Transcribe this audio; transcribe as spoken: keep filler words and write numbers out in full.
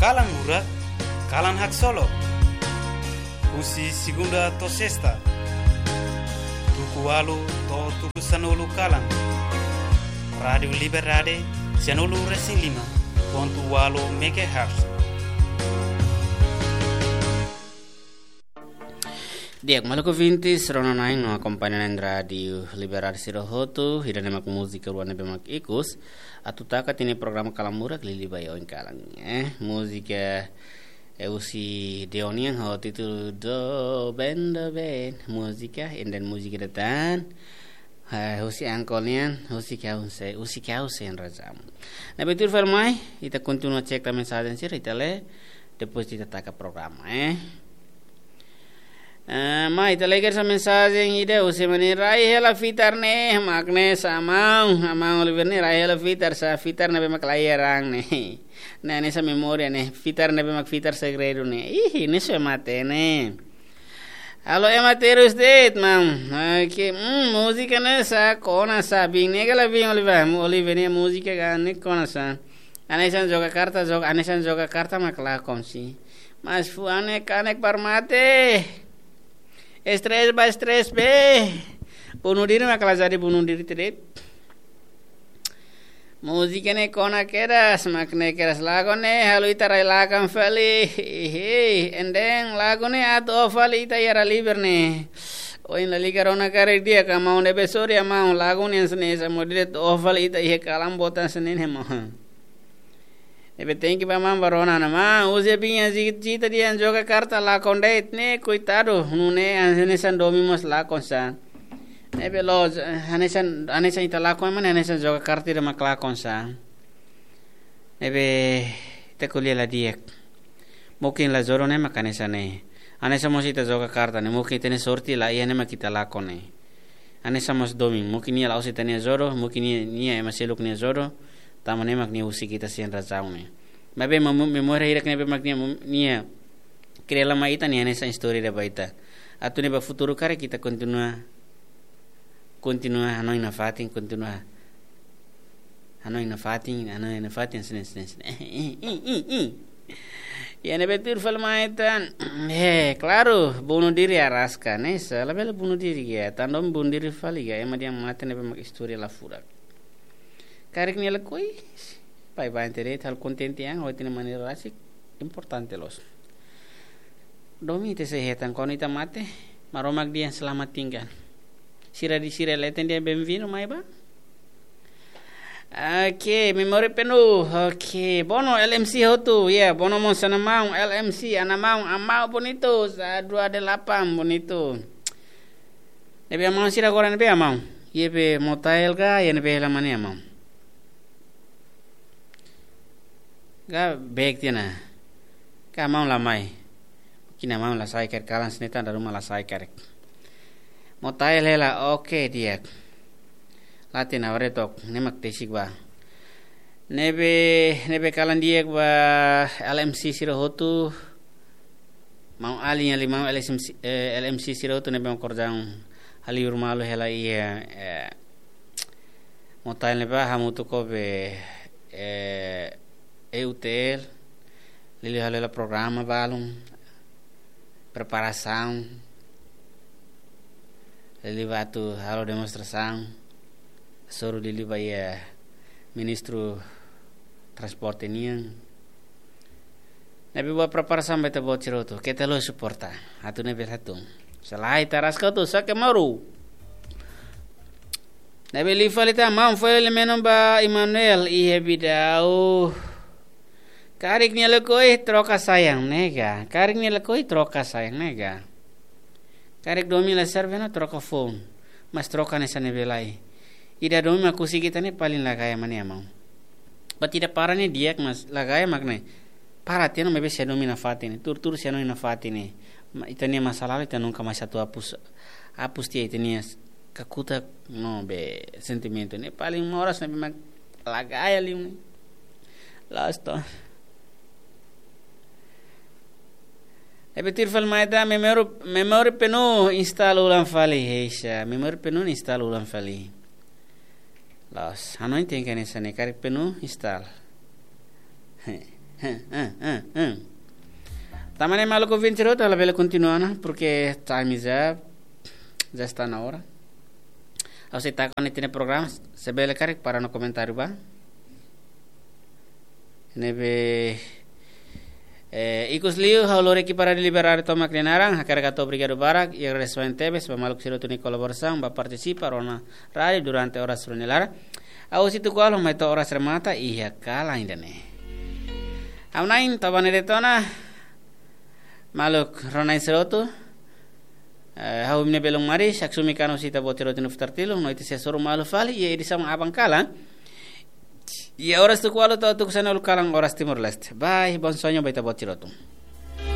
Kalan Murak, kalan haksolok. Husi segunda to'o sesta, tuku ualu to'o tuku sanulu kalan. Rádiu Liberdade, sanulu resin lima pontu ualu megahertz. Di'ak, maluk ouvintes, rona-na'in no akompaña na'in Rádiu Liberdade sira hotu, ida-ne'e mak múzika rua ne'ebé mak ikus atu taka tiha ona programa Kalan Murak liuliu ba oin kalan, eh. Múzika, eh, husi Deonian ho títulu Doben Doben. Múzika, ida-ne'e múzika ida tan, eh, husi Angkol nian, Husik Ha'u Sei, Husik Ha'u Sei Razaun. Ne'ebé tuir fali mai, ita kontinua cek tan mensajen sira, ita lee, depois ita taka programa, eh. Eh, mai ita lee kedas mensajen ida husi ema ne'e: rai hela fitar ne'e, mak ne'e sá maun, maun Oliver ne'e rai hela fitar sá, fitar ne'ebé mak la iha raan ne'e. Ne'e hanesan memória ne'e, fitar ne'ebé mak fitar segredu ne'e. Ih, ne'e só mate ne'e. Halo ema terus de'it, maun. Oke, hmm, múzika ne'e sá, kona sá, biin ne'e ka la biin Oliver, Oliver ne'e múzika ka ne'e kona sá. Hanesan joga karta, joga, hanesan joga karta mak lakon sih. Mas fuan ne'e kanek para mate. Stres ba stres be. Bunuh diri mak la jadi bunuh diri de'it. Múzika ne'e kona kedas, mak ne'e kedas, lagu ne'e halo ita rai lakon fali. Hihi, enden lagu ne'e atu oho fali ita iha Rádiu Liber ne'e. Ohin la liga rona karik di'ak, maun, ne'ebé sorry maun, lagu ne'e hanesan ne'e sá, maun, direto oho fali ita iha kalan boot hanesan ne'e, maun. Ne'ebé thank you ba maun ba rona ona, maun. Husi biin ne'e cita-cita dehan joga karta lakon de'it ne'e, koitadu, nune'e hanesan domin mós lakon sá. Ne'ebé loos, hanesan, hanesan ita lakon ema ne'e hanesan joga karta ida mak lakon sá. Ne'ebé ita ko'alia la di'ak. Mungkin la jodoh ne'e mak hanesan ne'e. Hanesan mós ita joga karta ne'e, mungkin ita-nia sorte la iha ne'e mak ita lakon ne'e. Hanesan mós domin, mungkin nia la'ós ita-nia jodoh, mungkin nia, nia ema seluk nia jodoh, tanba ne'e mak nia husik ita sein razaun ne'e. Maibé mem-, memória hirak ne'ebé mak nia, nia kria lai mai ita ne'e hanesan istória ida ba ita. Atu ne'e ba futuru karik ita kontinua, kontinua hanoin nafatin, kontinua hanoin nafatin, hanoin nafatin, sini, sini, sini. Eh, eh, eh, eh, eh. Ya, ne'ebé tuir fali mai tan. Eh, klaru, bunuh diri araska, ne'e sá, labele bunuh diri ka. Tanba bunuh diri fali ka, ema dehan mate ne'ebé mak istória la furak. Karik nia lakohi, baibain de'it, halo kontente an, ho ita-nia maneira rasik, importante loos. Domin ita sei hetan, kuandu ita mate, Maromak dehan selamat tinggal. Sira di sira leten dehan bem-vindo mai ba. Oke, memória penuh. Oke, Bono L M C hotu, ya, Bono mós ana maun, L M C, ana maun, ana maun bonitu, sá dua delapan bonitu. Ne'ebé maun sira agora ne'ebé maun. Iha be motael ka, iha ne'ebé hela mane maun. Ka bek tiha ona. Ka maun la mai. Kina maun la sai karik, kalan hanesan ne'e tan dala ruma la sai karik. Motael hela, oke, di'ak. Late na ware tok, ne'e mak tesik ba. Ne'ebé, ne'ebé kalan di'ak ba L M C sira hotu. Maun alin, alin maun L M C, eh, L M C sira hotu ne'ebé mak kordang hali urmalu hela iha, eh, motael ne'ebá hamutuk ho be, eh, E U T L, liuliu halo hela programa balun, preparasaun, liuliu ba atu halo demonstrasaun, hasoru liuliu ba iha Ministru Transporte nian. Ne'ebé buat preparasaun ba ita-boot sira hotu, keta haluha suporta. Atu ne'ebé hatún. Selae taraska tu sake maru. Ne'ebé liu fali tan maun, fali le menon ba Emmanuel iha Bidau. Karik nia lakohi troka sayang ne'e ka. Karik nia lakohi troka sayang ne'e ka. Karik domin la serve ona troka foun. Mas troka hanesan ne'ebé lai. Ida domin mak husik ita ne'e paling la gaya mane maun. Ba ita para ne'e di'ak mas la gaya mak ne'e. Para tiha ona maibé sei domin nafatin ne'e. Tuur-tuur sei domin nafatin ne'e. Ma-, ita-nia masa lalu ita nunka mais atu hapus, hapus tiha ita-nia s-, kakutak no be sentimentu ne'e. Paling moras ne'ebé mak la gaya liu ne'e. Loos to. Ne'ebé tuir fali mai tan, memória, memória penuh install ulang fali, heisa. Memória penuh install ulang fali. Loos, hanoin tenke hanesan ne'e, karik penuh install. Tanba ne'e maluk ouvinte sira hotu, labele kontinua ona, porque time is up, já está na hora. Ha'u sei taka ona ita-nia programa, se bele karik para no komentáriu ba. Ne'ebé, eh, ikus liu, ha'u lori ekipa Rádiu Liberdade tomak nia naran, hakarak hato'o obrigadu barak, i agradesimentu tebes ba maluk sira hotu nia kolaborasaun, ba partisipa rona rádiu durante oras rua nia laran. Ha'u husi tuku ualu mai to'o oras remata iha kalan ida-ne'e. Ha'u-nia na'in Tabane Detona, maluk rona-na'in sira hotu. Eh, ha'u imi-nia belun maris, Aksumi Kano husi ita-boot sira hotu nia futar tilu, no ita sei hasoru malu fali iha edisaun aban kalan. Iha oras tuku ualu to'o tuku sanulu kalan oras Timor-Leste. Bye, bom sonho ba ita-boot sira hotu.